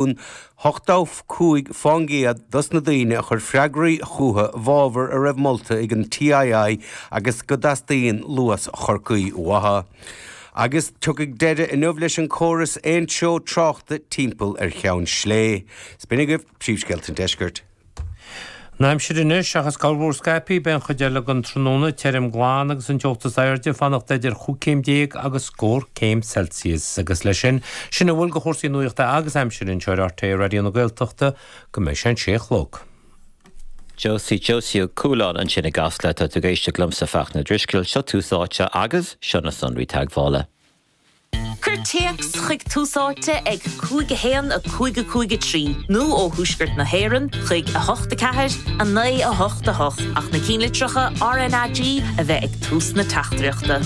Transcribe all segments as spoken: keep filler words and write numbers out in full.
ochtó cúig faoin gcéad dos na daoine a chuir freagraí chucu i bhfabhar a raibh molta ag an TII agus go dteastaíonn Luas Chorcaí uathu. Agus tiocfaidh deireadh inniu leis an córas aontreo tráchta timpeall ar Cheann Sléibhe. B'in agaibh príomhscéalta an deiscirt. An aimsir anois seachas corrmhúr scaipthe beidh an chuid eile den tráthnóna tirim glan agus an teocht is airde ag fanacht idir chúig céim déag agus scór céim Celsius agus leis sin sin a bhfuil de chúrsaí nuachta agus aimsire anseo ar RTÉ Raidió na Gaeltachta go mbeidh sé an sé a chlog. Josie Josie Cúlán ansin i gCasla tá tú ag éisteacht liomsa Fachtna Drisceoil seo Tús Áite agus seo na sonraí teagmhála. Cuir téacs chuig Tús Áite ag cúig a haon a cúig a cúig a trí nó ó thuaisceart na hÉireann chuig a hocht a ceathair a naoi a hocht a hocht ach na ceannlitreacha RnaG a bheith ag tús na teachtaireachta.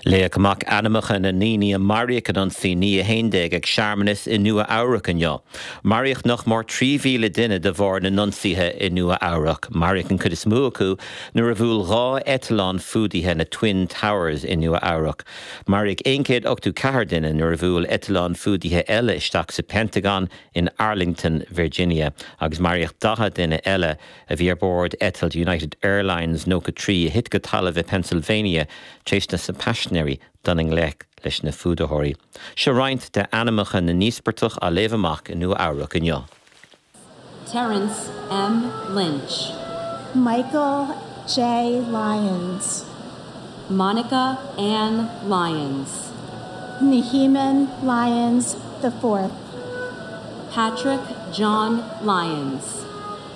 Léadh amach ainmneacha na ndaoine a maraíodh in ionsaí naoi a haon déag ag searmanas i Nua Eabhrac inniu. Maraíodh nach mór trí mhíle duine de bharr na n-ionsaithe i Nua Eabhrac. Maraíodh an chuid is mó acu nuair a bhuail dhá eitleán fuadaithe na Twin Towers i Nua Eabhrac. Maraíodh aon chéad ochtó ceathair duine nuair a bhuail eitleán fuadaithe eile isteach sa Pentagon in Arlington, Virginia, agus maraíodh daichead duine eile a bhí ar bord eitilt United Airlines nócha trí a thit go talamh i Pennsylvania tar éis na paisinéirí dul i ngleic leis na fuadaitheoirí. Seo roinnt de ainmneacha na n-íospartach á léamh amach i Nua Eabhrac inniu. Terence M. Lynch. Michael J. Lyons. Monica Ann Lyons. Neheman Lyons the Fourth. Patrick John Lyons.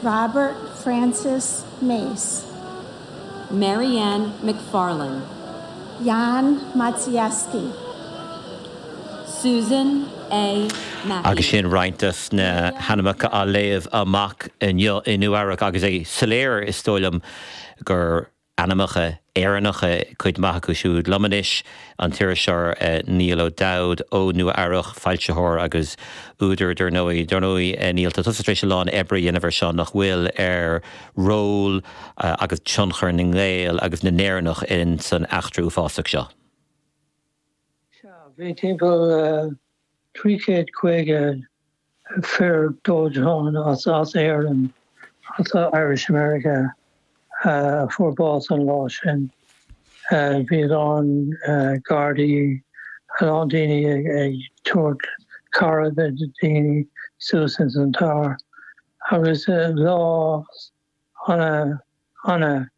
Robert Francis Mace. Marianne McFarlane. Jan Matsiewski. Susan A. Mackey. Agus sin roinnt de na hainmneacha á léamh amach inniu i Nua Eabhrac agus é soiléir is dóigh liom gur ainmneacha Éireannacha cuid mhaith acu siúd liom anois an t-iriseoir uh, Niall O'Dowd ó Nua Eabhrac foilsitheoir agus údar dar ndóigh dar ndóigh uh, Niall tá tusa tar éis a lán oibre a dhéanamh air seo nach bhfuil ar ról uh, agus tionchar na nGael agus na nÉireannach in san eachtra uafásach seo. Bhí timpeall trí chéad caoga fear dóiteáin as as Éirinn as Irish America uh, fuair bás an lá sin. Uh, bhí an uh, Gardaí a lán daoine ag, ag tabhairt cabhair do daoine suas in an tower. Agus uh, lá ana ana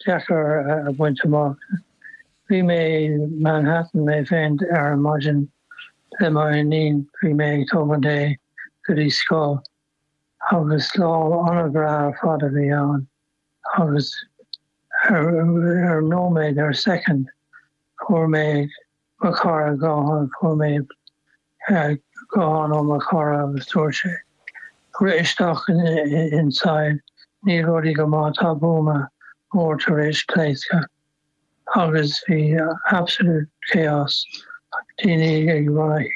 deacair a bhaint amach. Bhí mé Manhattan mé féin ar an maidin le m'iníon bhí mé ag tógáil é go dtí scoil agus lá an-bhreá ar fad a bhí ann agus ar ar nóiméad ar second fuair mé mo chara guthán fuair mé guthán ó mo chara agus dúirt sé rith isteach inside níl rudaí go maith tá buama mór tar éis pléascadh agus bhí absolute chaos daoine ag run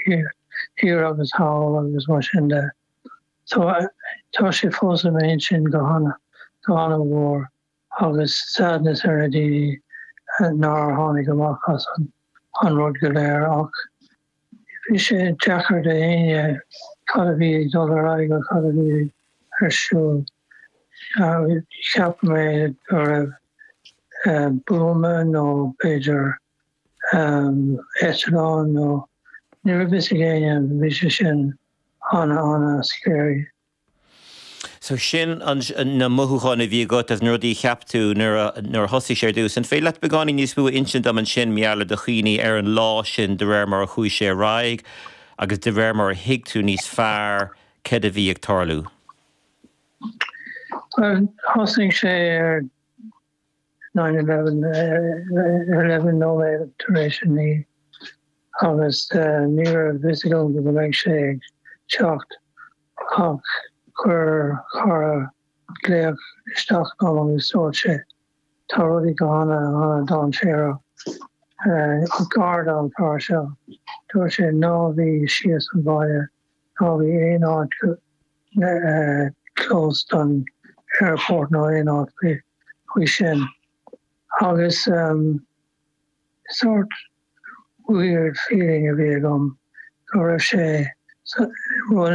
thiar agus thall agus mar sin de. So tá sé fós i m'intinn go hana go hana mhór agus sadness ar na daoine nár tháinig amach as an an rud go léir ach bhí sé deacair d'éinne cad a bhí ag dul ar aghaidh cad a bhí ar siúl. Cheap mé go raibh buama nó b'fhéidir eitleán nó ní raibh fhios ag éinne bhí sé sin ana ana scary. So sin an na mothúcháin a bhí agat as na rudaí cheap tú nuair a thosaigh sé ar dtús. An féidir leat beagáinín níos mó a insint dom ansin mar gheall do chuimhní ar an lá sin de réir mar a chuaigh sé ar aghaidh agus de réir mar a thuig tú níos fearr cad a bhí ag tarlú. Well, thosaigh sé ar nine eleven eleven nóiméad tar éis a naoi agus ní raibh fhios agam go mbeidh sé ag teacht ach chuir cara glaoch isteach dom agus dúirt sé tá rudaí go hana ana dainséarach garda an fear seo dúirt sé ná bí síos an bhaile ná bí aon áit close don airport nó aon áit faoi sin agus um, sort weird feeling a bhí agam go raibh sé Rud